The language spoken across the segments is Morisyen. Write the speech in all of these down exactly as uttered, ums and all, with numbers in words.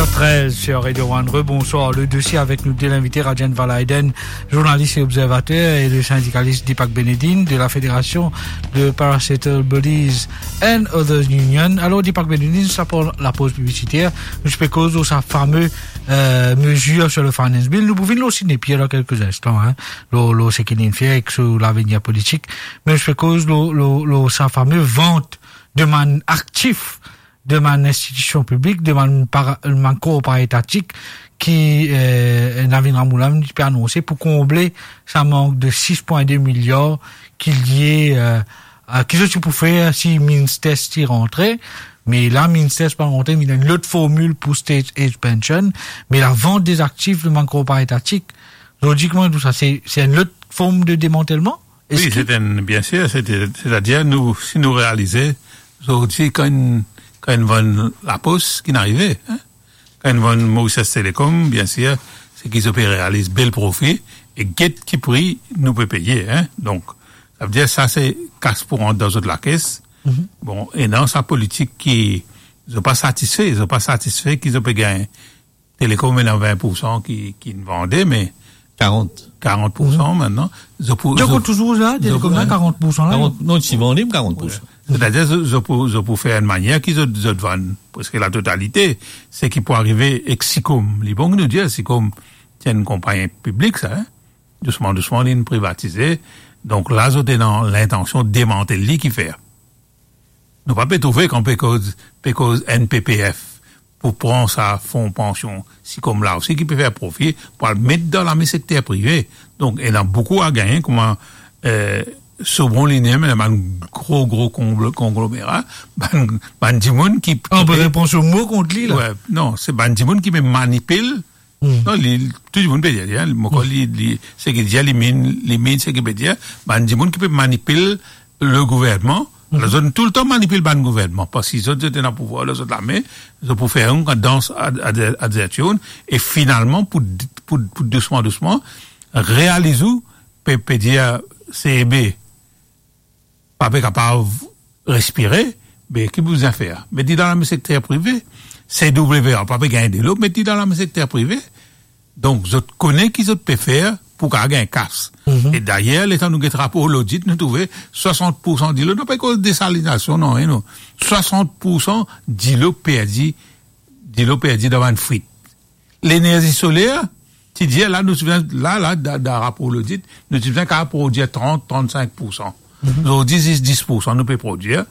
Treize sur Radio One. Rebonsoir. Le dossier avec nous de l'invité Rajan Valaiden, journaliste et observateur, et le syndicaliste Deepak Benedin de la Fédération de Parastatal Bodies and Others Union. Alors, Deepak Benedin, sa pou lapoz piblisiter, nou pe koz lor sa fame, euh, mezir sur le Finance Bill. Nou pou vinn lor Sidney Pierre dan kelke instan, hein, lor, lor seki li'nn fer ek so lavenir politik. Me nou pe koz lor, lor, lor sa fame vant de bann aktif de bann institision piblik, de bann para-, bann kor paraetatik ki, euh, Navin Ramoulin ti pe anonse pou konble sa mank de sis pwin de miliar ki lie, euh, a, ki zot ti pou fer si Minstess ti rantre, me la Minstess pa rantre, me ena enn lot formil pou state age pension, me lavant de aktif de bann kor paraetatik. Zot dir kouma tousa, se, se enn lot form de demantelman? Wi, se enn, bien sir, se, setadir nou, si nou realize, zordi kan, kan vann lapos, ki'nn arive, hein? Kan vann Mauritius Telecom, bien sir, se ki zot pe realiz bel profi, e get ki pri nou pe peye, hein? Donk, savedir sa se kas pou rant dan zot lakes. Mhm. Bon, e dan sa politik ki, zot pa satisfe, zot pa satisfe ki zot pe gagn Telecom ena vin poursan ki, ki'nn vande, me karant. Karant poursan, mhm, mintnan. Zot pou, zot, zot pou touzour la, zot Telecom pou, la, karant poursan la. Karant, non, ti vande, karant poursan. Setadir, zot, zot pou, zot pou fer enn manier ki zot, zot vann preske latotalite. Seki pou arive ek Sicom. Li bon ki nou dir Sicom, se enn konpagni piblik sa, hein? Dousman, dousman, li'nn privatize. Donk la, zot ena lintansion demantel li, ki fer? Nou pa pe trouve kan pe koz, pe koz N P P F pou pran sa fon pansion, Sicom la osi ki pe fer profi, pou al met dan lame sekter prive. Donk, ena boukou a gagne, kouma, euh, Sobron li mem, ena bann gro, gro konglo-, konglomera, bann, bann dimoun ki, ki pe pran so mo kont li la. Wi, non, se bann dimoun ki pe manipil. Hmm. Non, li, tou dimoun pe dir, hein, mo krwar li, li, seki dir, li mean, li mean seki pe dir, bann dimoun ki pe manipil le gouvernman, mhm, zot toultan manipil bann gouvernman, parski zot, zot ena pouvwar dan zot lame, zot pou fer enn dans ad, ad, ad, e finalman, pou, pou, pou dousman, dousman, realiz ou, pe, pe dir, C E B pa pe kapav respire, be, ki pou bizin fer? Met li dan lame sekter prive. C W A pa pe gagn delo, met li dan lame sekter prive. Donk, zot kone ki zot pe fer pou kapav gagn kas. Mhm. E dayer, letan nou get rapor lodit, nou trouve swasant poursan dilo, nou pa koz desalinasion, non, non. Swasant poursan dilo perdi, dilo perdi dan bann fwit. Lenerzi soler, ti dir la, nou ti bizin, la, la, da, da rapor lodit, nou ti bizin kapav prodwir trant, trannsink poursan. Mhm. Zordi, zis dis poursan nou pe prodwir.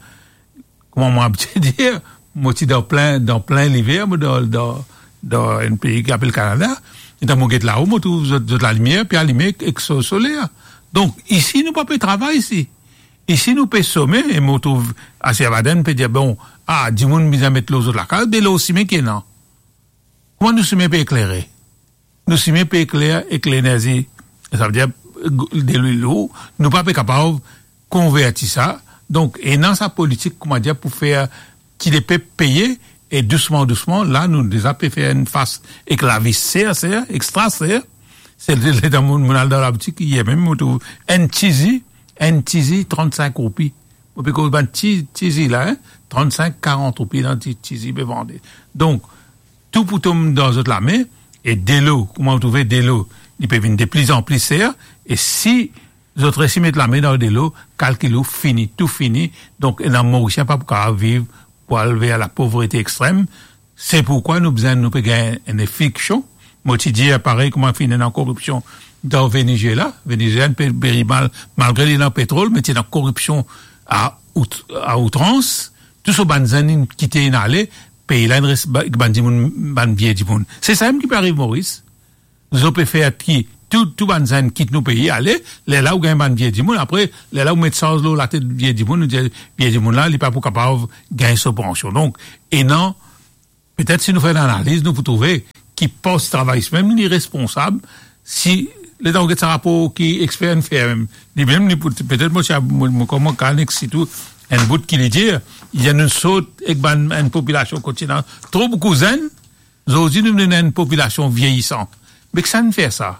Kouma mo abitye dir, mo ti dan plin, dan plin liver, mo dan, dan, dan enn pei ki apel Kanada. Letan mo get lao, mo trouv zot, zot lalimier pe alime ek so-, soler. Donk, isi, nou pa pe travay isi. Isi, nou pe some, e mo trouv Asia Baden pe dir, bon, a, dimoun bizin met lor zot lakaz, be lor sime ki ena. Kouma nou sime pe eklere? Nou sime pe ekler ek lenerzi, savedir, de lwil lour, nou pa pe kapav konverti sa. Donk, ena sa politik, kouma dir, pou fer ki lepep peye, e dousman, dousman, la, nou deza pe fer enn fas ek lavi ser, ser, extra ser. Se le, letan mo, mo al dan laboutik yer mem, mo trouv enn ti zi, enn ti zi, trannsink roupi. Mo pe koz bann ti, ti zi la, hein, trannsink, karant roupi dan ti, ti zi pe vande. Donk, tou pou tom dan zot lame, e delo, kouma ou trouve delo, li pe vinn de pli an pli ser, e si zot resi met lame dan delo, kalkil ou fini, tou fini, donk ena Morisien pa pou kapav viv, pou al ver lapovrete extrem. Se poukwa nou bizin, nou pe gagn enn eviksion. Mo ti dir, parey kouma finn ena koripsion dan Venezuela, Venezuela pe peri mal, malgre li ena petrol, me ti ena koripsion a out-, a outrans. Tou so bann zenn inn kite, inn ale, pei la inn res ba-, bann dimoun, bann vie dimoun. Se sa mem ki pe ariv Moris. Zot pe fer ki tou, tou bann zenn kit nou pei, ale, lerla ou gagn bann vie dimoun, apre, lerla ou met sarz lor latet vie dimoun, ou dir, vie dimoun la, li pa pou kapav gagn so pansion. Donk, ena, petet si nou fer enn analiz, nou pou trouve ki pos travayis mem li responsab, si, letan ou get sa rapor ki exper inn fer mem, li mem, li pou, petet mo ti a, mo, mo kouma kan ek sitou enn bout ki li dir, ena nou sort ek bann, enn popilasion kot ti ena tro boukou zenn, zordi nou ena enn popilasion vieyisan. Me kisannla fer sa?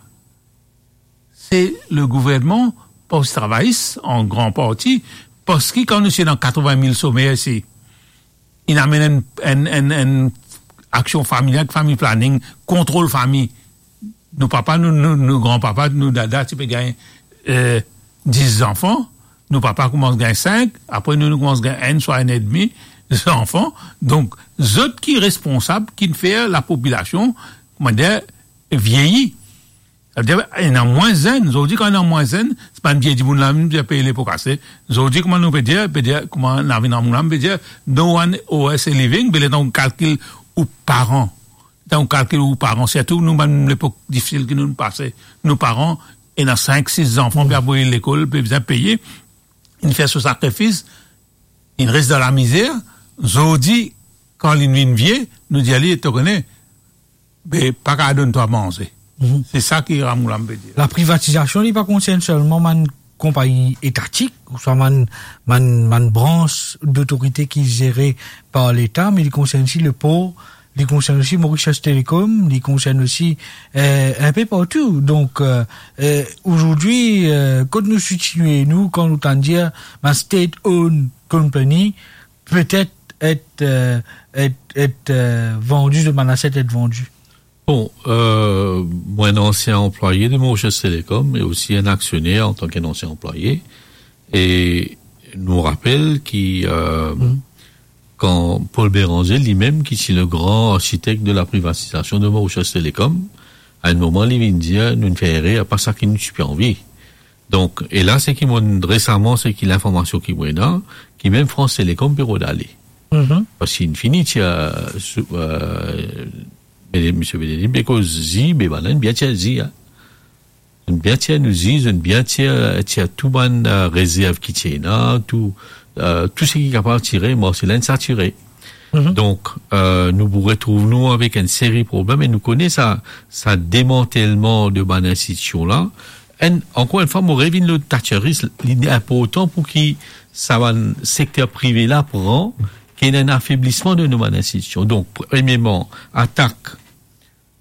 Se le gouvernman, pos travayis, an gran parti, parski kan nou ti ena katreven mil somer isi, inn amenn enn, enn, enn, enn aksion familial, fami planing, kontrol fami. Nou papa, nou, nou, nou granpapa, nou dada ti pe gagn, eh, dis zanfan, nou papa koumans gagn sink, apre nou, nou koumans gagn enn swa enn edmi zanfan. Donk, zot ki responsab, ki fer lapopilasion, koumadir, vieyi. Savedir, ena mwin zenn. Zordi, kan ena mwin zenn, se pa enn vie dimoun la mem ki pe peye lepo kase. Zordi, kouma nou pe dir, pe dir, kouma Navin Ramgoolam pe dir, "No one owes a living," be letan ou kalkil ou paran, letan ou kalkil ou paran, sirtou nou bann lepok difisil ki nou pase, nou paran, ena sink, sis zanfan, pe avoy lekol, pe bizin peye, inn fer so sakrifis, inn res dan lamizer. Zordi, kan linn vinn vie, nou dir li, "To kone, be, pa kav donn twa manze." Mhm. Se sa ki Ramgoolam pe dir. Laprivatizasion, li pa konsern selman bann konpagni etatik, ouswa bann, bann, bann brans dotorite ki zere par Leta, me li konsern osi lepor, li konsern osi Mauritius Telecom, li konsern osi, eh, inpe partou. Donk, eh, eh, azordi, eh, kot nou sitiye nou, kan nou tann dir, bann state-owned company, petet et, eh, et, et, eh, vandi, zot bann aset et vandi. Bon, eh, mwa, enn ansien anplwaye de Mauritius Telecom e osi enn aksioner antan ki enn ansien anplwaye. E nou rapel ki, eh, kan Paul Bérenger, limem, ki ti le gran arsitek de laprivatizasion de Mauritius Telecom, a enn moman, li vinn dir, "Nou finn fer erer, pa sa ki nou ti pe anvi." Donk, e la, seki mo, resaman, seki linformasion ki mo ena, ki mem France Télécom pe rod ale. Mhm. Parski inn fini tir, sou, eh, Bene-, Misie Benedict, be koz zi, be bann la bien tir zi, hein. Zot bien tir nou zi, zot bien tir, tir tou bann, eh, rezerv ki ti ena, tou, eh, tou seki kapav tire, marse la inn satire. Mhm. Donk, eh, nou pou retrouv nou avek enn seri problem e nou kone sa, sa demantelman de bann institision la. Enn, ankor enn fwa, mo revinn lor Thatcherism, li inportan pou ki sa bann sekter prive la pran, ki ena enn afeblisman de nou bann institision. Donk, premierman, atak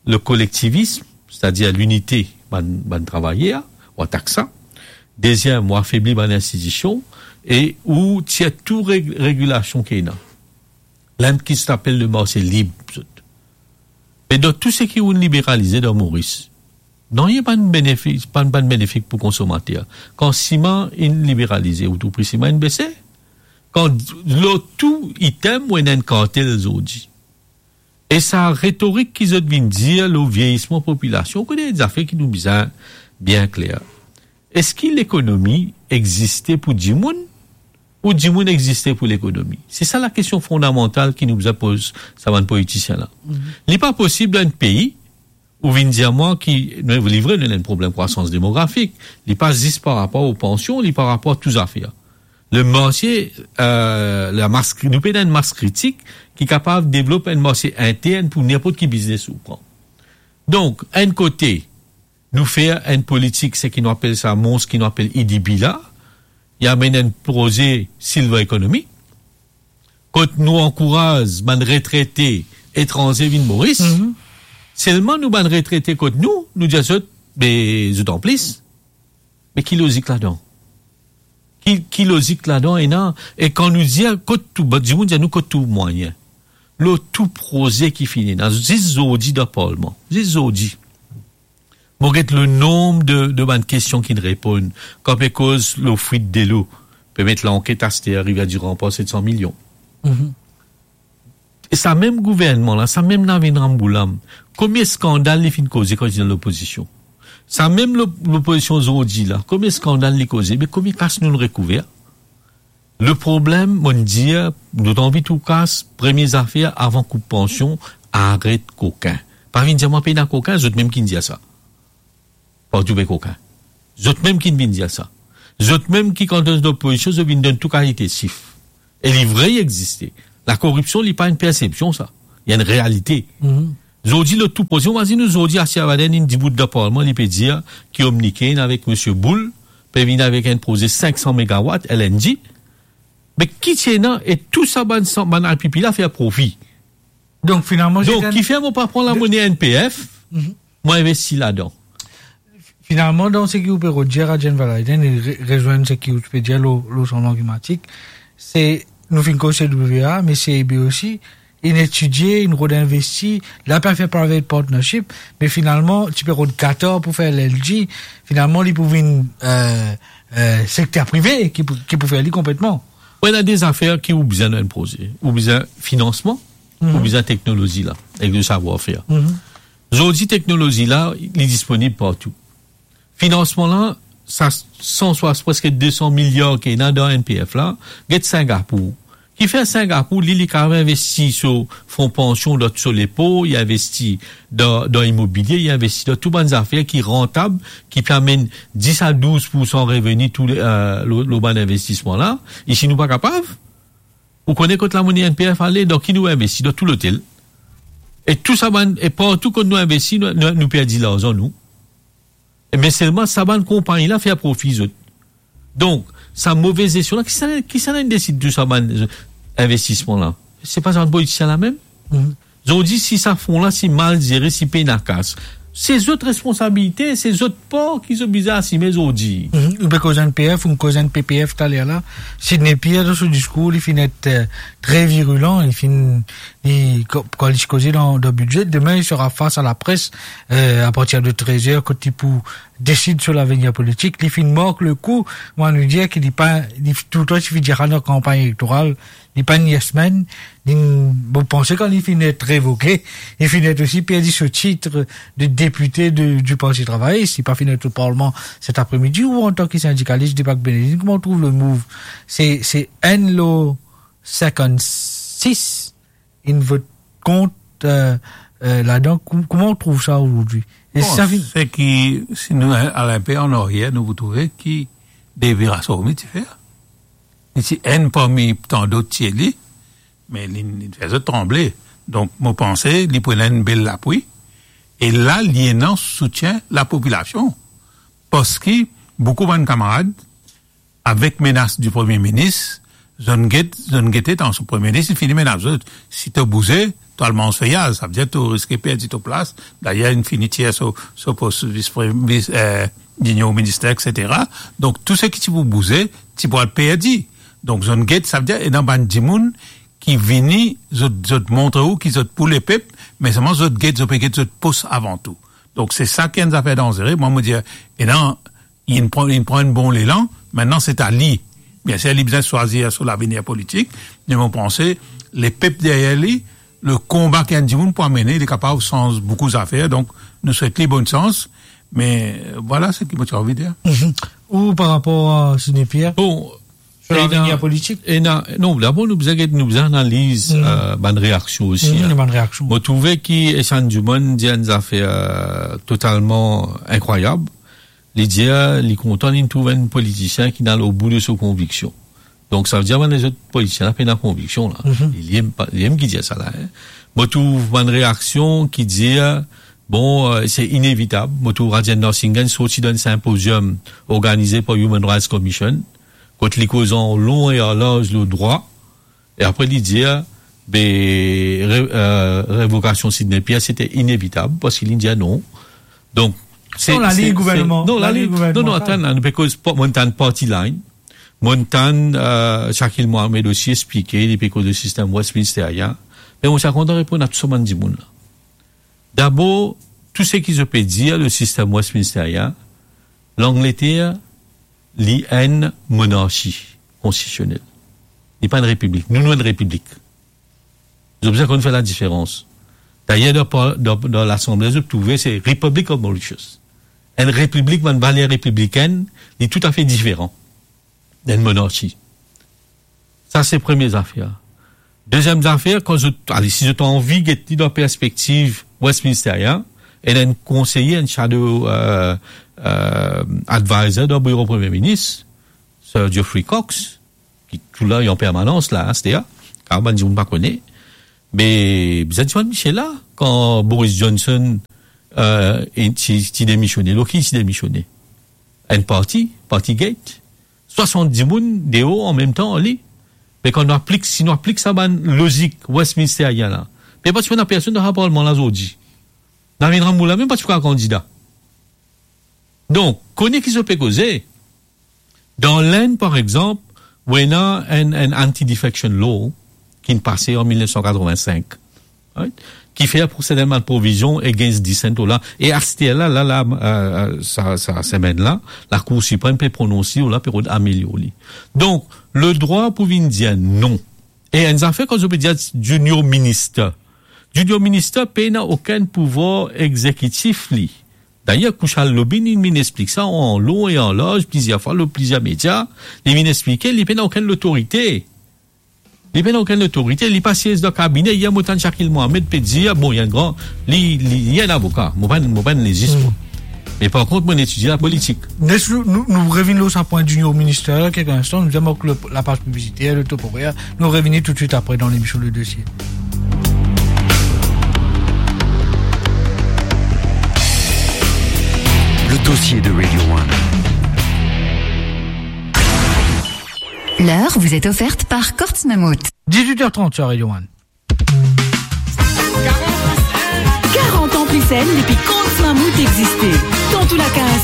le kolektivism, setadir linite bann, bann travayer, ou atak sa. Deziem, ou afebli bann institision e ou tir tou reg-, regilasion ki ena. Lamem ki zot apel le marse lib, zot. Me dan tou seki ou'nn liberalize dan Moris, nanye pa'nn benefis, pa'nn, pa'nn benefik pou konsomater. Kan siman inn liberalize, ou trouv pri siman inn bese. Kan lor tou item, ou ena enn kartel zordi. E sa retorik ki zot vinn dir lor vieyisman popilasion, ou kone zafer ki nou bizin bien kler. Eski lekonomi existe pou dimoun ou dimoun existe pou lekonomi? Se sa lakestion fondamantal ki nou bizin poz sa bann politisien la. Mhm. Li pa posib dan enn pei ou vinn dir mwa ki, nou, li vre, nou ena enn problem krwasans demografik, li pa zis par rapor o pansion, li par rapor tou zafer. Le marse, eh, la mas kri-, nou pena enn mas kritik ki kapav devlop enn marse intern pou ninport ki biznes ou pran. Donk, enn kote, nou fer enn politik, seki nou apel sa, mons ki nou apel ADB la, li amenn enn proze silver economy, kot nou ankouraz bann retrete etranze vinn Moris. Mhm. Selman nou bann retrete kot nou, nou dir zot, be, zot an plis. Me ki lozik ladan? Ki, ki lozik ladan ena? E kan nou dir kot tou, bann dimoun dir nou kot tou mwayin. Lor tou proze ki fini ena, zis zordi dan parlman, zis zordi. Mo get le nonb de, de bann kestion ki'nn reponn, kan pe koz lor fwit delo, pe met lanket aster Rivière du Rempart set san milion. Mhm. E sa mem gouvernman la, sa mem Navin Ramgoolam, komie skandal li finn koze kan li ti dan lopozision? Sa mem lo-, lopozision zordi la, komie skandal li koze, me komie kas nou'nn rekouver? Le problem, mo'nn dir, nou anvi tou kas, premie zafer, avan koup pansion, aret kokin. Pa vinn dir mwa pena kokin, zot mem ki'nn dir sa. Partou pe kokin. Zot mem ki'nn vinn dir sa. Zot mem ki kan zot dan lopozision, zot vinn donn tou kalite sif. E li vre, li existe. Lakoripsion, li pa enn persepsion, sa. Li enn realite. Mhm. Zordi, lor tou proze, imazinn ou zordi, Assi Abadan, inn dibout dan parlman, li pe dir ki Omnicane avek Misie Boule pe vinn avek enn proze sink san megawat, L N G. Me ki ti ena, e tou sa bann san, bann I P P la fer profi. Donk, finalman, Donk, Jean-Claude, kifer mo pa pran lamone N P F, Mhm. mo investi ladan? Finalman, dan seki ou pe rod dir, Rajen Vallaiden, e re-, rezwenn seki ou ti pe dir lor, lor sanzman klimatik, se, nou finn koz C W A, me C E B osi, inn etidie, inn rod investi, la pe fer private partnership, me finalman, ti pe rod Qatar pou fer L N G, finalman, li pou vinn, euh, euh, sekter prive ki pou, ki pou fer li konpletman. Wi, ena de zafer ki ou bizin dan enn proze. Ou bizin finansman, Mhm. ou bizin teknolozi la, ek le savoir-faire. Mhm. Zordi, teknolozi la, li disponib partou. Finansman la, sa san swa-, preske de san miliar ki ena dan N P F la, get Singapour. Kifer Singapour, li, li kapav investi so fon pansion, dan so lepo, li investi dan, dan imobilie, li investi dan tou bann zafer ki rantab, ki pe amenn dis a douz poursan reveni tou le, euh, lor, lor bann investisman la. Isi, nou pa kapav. Ou kone kot lamone N P F ale, dan ki nou investi? Dan tou lotel. E tou sa bann, e partou kot nou investi, nou, nou, nou perdi larzan, nou. E me selman sa bann konpagni la fer profi zot. Donk, sa move zestion la, kisannla, kisannla inn desid tou sa bann, euh, investisman la? Se pa sa bann politisien la mem? Mhm. Zordi, si sa fon la, si mal zere, si pena kas, se zot responsabilite, se zot par ki zot bizin asime zordi. Mhm. Ou pe koz N P F, ou koz N P P F taler la. Sidney Pierre, dan so diskour, li finn et, euh, tre virulan, li finn, li, kan, kan li ti koze dan, dan bidze, demin, li sera fas a lapres, euh, a partir de trez er, kot li pou desid so lavenir politik. Li finn mark le kou, mo, nou dir ki li pa, li toultan ti finn dir sa dan kanpagn elektoral, li pa enn yes man, li, mo panse kan li finn et revoke, li finn et osi perdi so tit de depite de, di Parti Travayis, li pa finn et o parlman set apremidi, ou antan ki sindikalis, depi Benedin, kouma ou trouv le move? Se, se enn lor sinkannsis inn vot kont, euh, euh, ladan. Kou-, kouma ou trouv sa ozordi? E Bon, sa vinn se ki, si nou al, al inpe an aryer, nou pou trouve ki Devi Rassoumi ti fer. Li ti enn parmi tan dot ti eli, me li, li fer zot tranble. Donk, mo panse, li pou ena enn bel lapwi. E la, li ena soutien lapopilasion. Parski boukou bann kamarad, avek menas di Premie Minis, zot inn get, zot inn gete, tansion Premie Minis, li fini menas zot. Si to bouze, to al manz feyaz, savedir to riske perdi to plas. Dayer, inn fini tir so, so pos vis pre-, vis, eh, Linion Minister, et cetera. Donk, tou seki ti pou bouze, ti pou al perdi. Donk, zot inn get, savedir, ena bann dimoun ki vini, zot, zot montre ou ki zot pou lepep, me selman zot get, zot pe get zot pos avan tou. Donk, se sa ki enn zafer danzere. Mwa, mo dir, ena, li pran, li pran enn bon lelan, aster se a li. Biensir, li bizin swazir so lavenir politik, me mo panse, lepep deryer li, le konba ki enn dimoun pou amene, li kapav sanz boukou zafer. Donk, nou swet li bonn sans, me, euh, vwala seki mo ti anvi dir. Mhm. Ou par rapor a Sidney Pierre? Bon, Sur ena, lavenir politik? Ena, non, dabor nou bizin get, nou bizin analiz, Mm. euh, bann reaksion osi, Mm, hein. Bann reaksion. Mo trouve ki Echann Dumont dir enn zafer, euh, totalman inkrwayab. Li dir, li kontan li trouv enn politisien ki inn al o bou de so konviksion. Donk, savedir bann lezot politisien la pena konviksion la. Mhm. Li, li mem pa, li mem ki dir sa la, hein. Mo trouv bann reaksion ki dir, bon, euh, se inevitab. Mo trouv Rajendra Singh inn sorti dan enn sinpoziom organize par Human Rights Commission, kot li koz an lon e an larz lor drwa, e apre li dir, be, re-, euh, revokasion Sidney Pierre, sete inevitab, parski li dir non. Donk, se, Non, laliny se, se, gouvernman, non, laliny laliny, gouvernman, non, non, sa. Atann, nou pe koz pa-, mo'nn tann party line, mo'nn tann, euh, Shakil Mohammed osi explike, li pe koz le sistem Westminsterien. Me mo ti a kontan reponn a tou sa bann dimoun la. Dabor, tou seki zot pe dir, le sistem Westminsterien, Langleter, li enn monarki konstitisionel. Li pa enn repiblik. Nou, nou enn repiblik. Zot bizin konn fer ladiferans. Dayer, dan pa-, dan, dan Lasanble, zot trouve se Republic of Mauritius. Enn repiblik, bann valer repiblikenn, li toutafe diferan d'enn monarki. Sa, se premie zafer. Deziem zafer, kan zot, ale, si zot anvi get li dan perspektiv Westminsterien, ena enn konseye, enn shadow, euh, euh, advisor dan biro Premie Minis, Sir Geoffrey Cox, ki tou la, li an permanans la, aster, kan bann dimoun pa kone. Me, bizin dir bann misie la, kan Boris Johnson, euh, li ti, ti demisione, lor ki li ti demisione? Enn parti, Partygate. Swasant dimoun deor anmemtan ar li. Me kan nou aplik, si nou aplik sa bann lozik Westminsterien la, me pa ti pena personn dan sa parlman la zordi. Navin Ramoula mem pa ti pou kapav kandida. Donk, kone ki zot pe koze. Dan Lenn, par exanp, ou ena enn, enn anti-defection law, ki'nn pase an mil nef san katrovin-sink. Right? Ki fer pou sertennman provizion against dissent law la. E aster la, la, la, euh, euh, sa, sa semenn la, Lakour Siprem pe prononse law la, pe rod amelior li. Donk, ledrwa pou vinn dir non. E enn zafer, kan zot pe dir junior minister, junior minister pena okenn pouvwar egzekitif li. Dayer, Kushal Lobin, li vinn explik sa an lon e an larz, plizier fwa, lor plizier media, li vinn explike, li pena okenn lotorite. Li pena okenn lotorite, li pa siez dan kabine. Yer, mo tann Shakil Mohamed pe dir, bon, li enn gran, li, li, li enn avoka. Mo pa, mo pa enn lezis, mo. Me par kont, mo etidie lapolitik. Les nou, nou, nou revinn lor sa pwin junior minister la, kelke instan, nou dir, mark le, lapaz piblisiter, le temporaire. Nou revini toutswit apre dan lemision Le Dossier. Le dossier de Radio One. L'heure vous est offerte par Courts Mammouth. Dix-huit heures trente sur Radio One. Quarante ans plis enn depi Courts Mammouth existe. Dan tou lakaz,